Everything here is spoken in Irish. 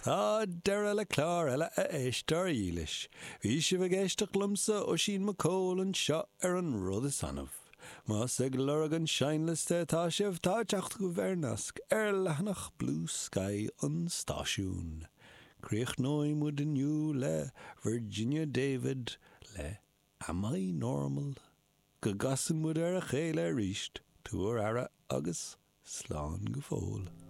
Tá deireadh le clár eile, a éisteoir dhílis. Bhí sibh ag éisteacht liomsa, Oisín Mac Cóil, anseo ar An Rud Is Annamh. Más ag lorg an seinnliosta atá sibh, tá teacht agaibh ar nasc ar leathanach Bluesky an stáisiúin. Críochnóidh muid inniu le Virginia David le Am I Normal? Go gcasann muid ar a chéile arís, tabhair aire agus slán go fóill.